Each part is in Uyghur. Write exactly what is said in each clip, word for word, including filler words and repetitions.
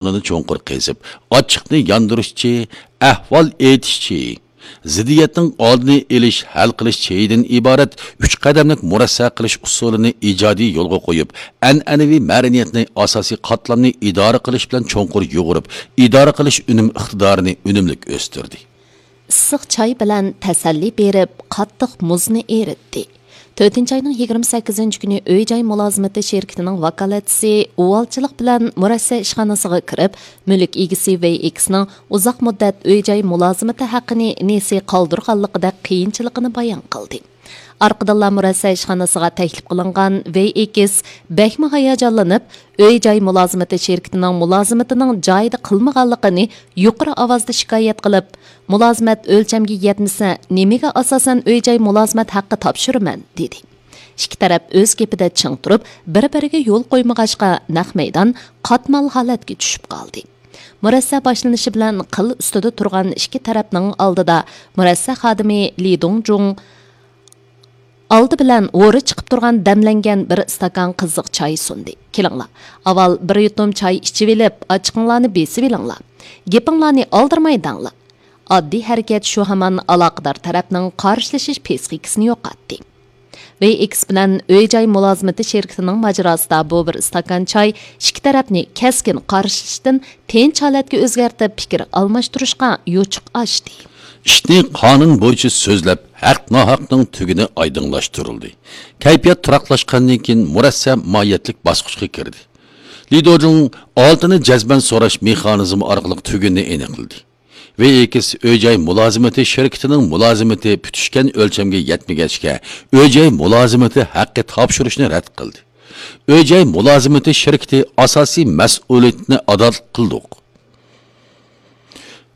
ئورنىنى چوڭقۇر قېزىپ، ئاچچىقنى ياندۇرۇشچى، ئەھۋال ئېيتىشچى، زىددىيەتنىڭ ئالدىنى ئېلىش، ھەل قىلىش چېيىدىن ئىبارەت ئۈچ قەدەملىك مۇرەسسە قىلىش ئۇسۇلىنى ئىجادىي يولغا قويۇپ، ئەنئەنىۋى مەدەنىيەتنى، ئاساسىي قاتلامنى ئىدارە قىلىش بىلەن چوڭقۇر يۇغۇرۇپ، ئىدارە قىلىش ئۈنۈم ئىقتىدارىنى ئۈنۈملۈك ئۆستۈردى. ئىسسىق چاي بىلەن تەسەللى بېرىپ، قاتتىق مۇزنى ئېرىتتى. تۆتىنچى ئاينىڭ يىگىرمە سەككىزىنچى كۈنى ئۆي جاي مۇلازىمىتى شىركىتىنىڭ ۋاكالەتچىسى ئۇۋالچىلىق بىلەن مۇرەسسە ئىشخانىسىغا كىرىپ، مۈلۈك ئىگىسى ۋېي ئېكسنىڭ ئۇزاق مۇددەت ئۆي جاي مۇلازىمىتى ھەققىنى نېسى قالدۇرغانلىقىدەك قىيىنچىلىقىنى بايان قىلدى. ئارقىدىنلا مۇرەسسە ئىشخانىسىغا تەكلىپ قىلىنغان ۋېي ئېكس بەكمۇ ھاياجانلىنىپ، ئۆي جاي مۇلازىمىتى شىركىتىنىڭ مۇلازىمىتىنىڭ جايىدا قىلمىغانلىقىنى يۇقىرى ئاۋازدا شىكايەت قىلىپ، مۇلازىمەت ئۆلچەمگە يەتمىسە، نېمىگە ئاساسەن ئۆي جاي مۇلازىمەت ھەققى تاپشۇرىمەن؟ دېدى. ئىككى تەرەپ ئۆز گېپىدە چىڭ تۇرۇپ، بىر-بىرىگە يول قويمىغاچقا، نەق مەيدان قاتمال ھالەتكە چۈشۈپ قالدى. مۇرەسسە باشلىنىشى بىلەن قىل ئۈستىدە تۇرغان ئىككى تەرەپنىڭ ئالدىدا مۇرەسسە خادىمى لى دۇڭجۇڭ ئالدى بىلەن ھورى چىقىپ تۇرغان دەملەنگەن بىر ئىستاكان قىزىق چاي سۇندى. «كېلىڭلار، ئاۋۋال بىر يۇتۇم چاي ئىچىۋېلىپ، ئاچچىقىڭلارنى بېسىۋېلىڭلار. گېپىڭلارنى ئالدىرىماي دەڭلار.» ئاددىي ھەرىكەت شۇ ھامان ئالاقىدار تەرەپنىڭ قارشىلىشىش پىسخىكىسىنى يوقاتتى. ۋېي ئېكس بىلەن ئۆي جاي مۇلازىمىتى شىركىتىنىڭ ماجىراسىدا بۇ بىر ئىستاكان چاي ئىككى تەرەپنى كەسكىن قارشىلىشىشتىن تىنچ ھالەتكە ئۆزگەرتىپ، پىكىر ئالماشتۇرۇشقا يوچۇق ئاچتى. ئىشنى قانۇن بويىچە سۆزلەپ، ھەق-ناھەقنىڭ تۈگۈنى ئايدىڭلاشتۇرۇلدى. كەيپىيات تۇراقلاشقاندىن كېيىن، مۇرەسسە ماھىيەتلىك باسقۇچقا كىردى. لى دۇڭجۇڭ ئالتىنى جەزمەن سوراش مېخانىزمى ئارقىلىق تۈگۈننى ئېنىقلىدى. ۋېي ئېكس ئۆي جاي مۇلازىمىتى شىركىتىنىڭ مۇلازىمىتى پۈتۈشكەن ئۆلچەمگە يەتمىگەچكە، ئۆي جاي مۇلازىمىتى ھەققى تاپشۇرۇشنى رەت قىلدى. ئۆي جاي مۇلازىمىتى شىركىتى ئاساسىي مەسئۇلىيىتىنى ئادا قىلدۇق.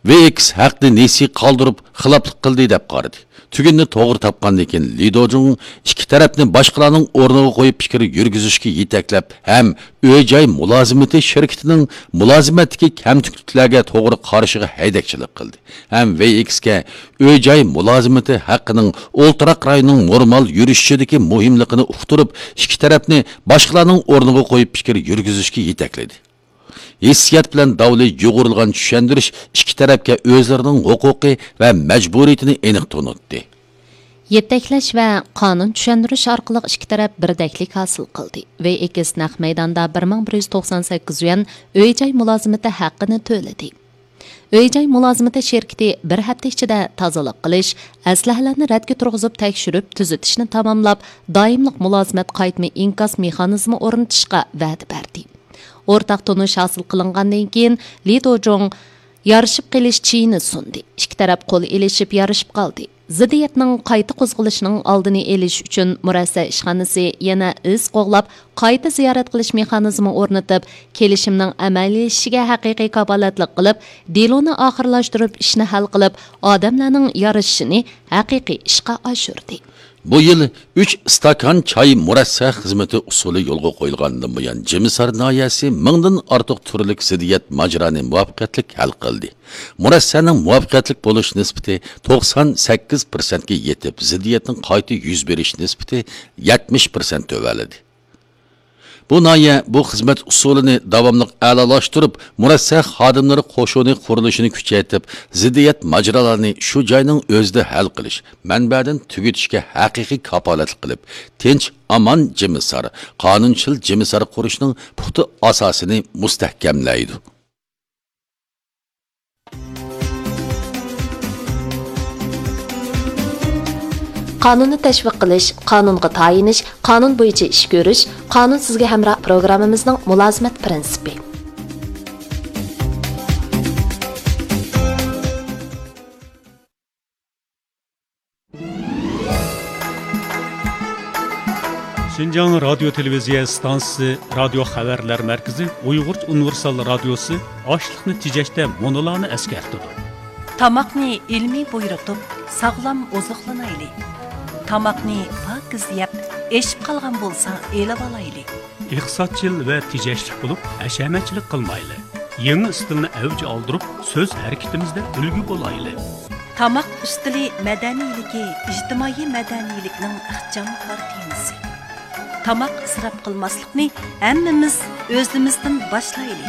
ۋېي ئېكس ھەقنى نېسى قالدۇرۇپ، خىلاپلىق قىلدى دەپ قارىدى. تۈگۈننى توغرا تاپقاندىن كېيىن، لى دۇڭجۇڭ ئىككى تەرەپنى باشقىلارنىڭ ئورنىغا قويۇپ پىكىر يۈرگۈزۈشكە يېتەكلەپ ھەم ئۆي جاي مۇلازىمىتى شىركىتىنىڭ مۇلازىمەتتىكى كەمتۈكلۈكلەرگە توغرا قارىشىغا ھەيدەكچىلىك قىلدى ھەم ۋېي ئېكسكە ئۆي جاي مۇلازىمىتى ھەققىنىڭ ئولتۇراق رايوننىڭ نورمال يۈرۈشۈشىدىكى مۇھىملىقىنى ئۇقتۇرۇپ، ئىككى تەرەپنى باشقىلارنىڭ ئورنىغا قويۇپ پىكىر يۈرگۈزۈشكە يېتەكلىدى. ھېسسىيات بىلەن داۋلى يۇغۇرۇلغان چۈشەندۈرۈش ئىككى تەرەپكە ئۆزلىرىنىڭ ھوقۇقى ۋە مەجبۇرىيىتىنى ئېنىق تونۇتتى. يېتەكلەش ۋە قانۇن چۈشەندۈرۈش ئارقىلىق ئىككى تەرەپ بىردەكلىك ھاسىل قىلدى. ۋېي ئېكس نەق مەيداندا بىر مىڭ بىر يۈز توقسان سەككىز يۈەن ئۆي جاي مۇلازىمىتى ھەققىنى تۆلىدى. ئۆي جاي مۇلازىمىتى شىركىتى بىر ھەپتە ئىچىدە تازىلىق قىلىش، ئەسلىھەلەرنى رەتكە تۇرغۇزۇپ تەكشۈرۈپ تۈزىتىشنى تاماملاپ، دائىملىق مۇلازىمەت قايتما ئىنكاس مېخانىزمى ئورنىتىشقا ۋەدە بەردى. ئورتاق تونۇش ھاسىل قىلىنغاندىن كېيىن، لى دۇڭجۇڭ يارىشىپ قېلىش چېيىنى سۇندى. ئىككى تەرەپ قول ئېلىشىپ يارىشىپ قالدى. زىددىيەتنىڭ قايتا قوزغىلىشىنىڭ ئالدىنى ئېلىش ئۈچۈن مۇرەسسە ئىشخانىسى يەنە ئىز قوغلاپ، قايتا زىيارەت قىلىش مېخانىزمى ئورنىتىپ، كېلىشىمنىڭ ئەمەلىيلىشىشىگە ھەقىقىي كاپالەتلىك قىلىپ، دېلونى ئاخىرلاشتۇرۇپ، ئىشنى ھەل قىلىپ، ئادەملەرنىڭ يارىشىشىنى ھەقىقىي ئىشقا ئاشۇردى. بۇ يىل ئۈچ ئىستاكان چاي مۇرەسسە خىزمىتى ئۇسۇلى يولغا قويۇلغاندىن بۇيان، جىمىسار ناھىيەسى مىڭدىن ئارتۇق تۈرلۈك زىددىيەت ماجىرانى مۇۋەپپەقىيەتلىك ھەل قىلدى. مۇرەسسەنىڭ مۇۋەپپەقىيەتلىك بولۇش نىسبىتى توقسان سەككىز پىرسەنتكە يېتىپ، زىددىيەتنىڭ قايتا يۈز بېرىش نىسبىتى يەتمىش پىرسەنت تۆۋەنلىدى. بۇ ناھىيە بۇ خىزمەت ئۇسۇلىنى داۋاملىق ئەلالاشتۇرۇپ، مۇرەسسە خادىملىرى قوشۇنى قۇرۇلۇشىنى كۈچەيتىپ، زىددىيەت ماجىرالارنى شۇ جاينىڭ ئۆزىدە ھەل قىلىش، مەنبەدىن تۈگىتىشكە ھەقىقىي كاپالەتلىك قىلىپ، تىنچ، ئامان جىمىسار، قانۇنچىل جىمىسار قۇرۇشنىڭ پۇختا ئاساسىنى مۇستەھكەملەيدۇ. قانۇننى تەشۋىق قىلىش، قانۇنغا تايىنىش، قانۇن بويىچە ئىش كۆرۈش، قانۇن سىزگە ھەمراھ پروگراممىمىزنىڭ مۇلازىمەت پىرىنسىپى. شىنجاڭ رادىيو تېلېۋىزىيە ئىستانسىسى رادىيو خەۋەرلەر مەركىزى ئۇيغۇرچە ئۇنىۋېرسال رادىيوسى ئاشلىقنى تېجەشتە مۇنۇلارنى ئەسكەرتىدۇ. تاماقنى ئىلمىي بۇيرۇتۇپ، ساغلام ئوزۇقلىنايلى. تاماقنى پاكىز يەپ، ئېشىپ قالغان بولسا ئېلىۋالايلى. ئىقتىسادچىل ۋە تېجەشلىك بولۇپ، ھەشەمەتچىلىك قىلمايلى. يېڭى ئىستىلنى ئەۋج ئالدۇرۇپ، سۆز ھەرىكىتىمىزدە ئۈلگە بولايلى. تاماق ئۈستىلى مەدەنىيلىكى ئىجتىمائىي مەدەنىيلىكنىڭ ئىخچام كارتىنىسى. تاماق ئىسراپ قىلماسلىقنى ھەممىمىز ئۆزىمىزدىن باشلايلى.